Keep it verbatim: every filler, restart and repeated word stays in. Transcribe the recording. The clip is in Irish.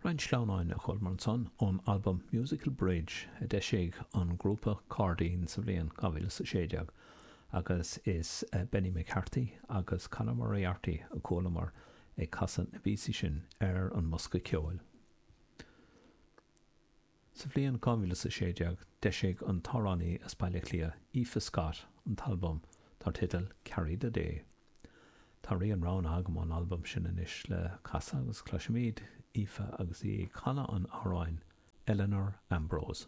Roinnt sleamhnáin a chualamar ansan ón albam Musical Bridge a d'eisigh an grúpa Cairdín sa bhliain dhá mhíle is a sé déag agus is Benny McCarthy agus Conor Moriarty a chualamar ag casadh na bpíosaí sin ar an mbosca ceoil. Sa bhliain dhá mhíle is a sé déag d'eisigh an t-amhránaí as Baile Átha Cliath Aoife Scott an t-albam dar teideal Carry the Day. Tá rian roghnaithe agam ón albam sin anois le casadh agus cloisfimid Aoife agus í ag canadh an amhráin Eleanor Ambrose.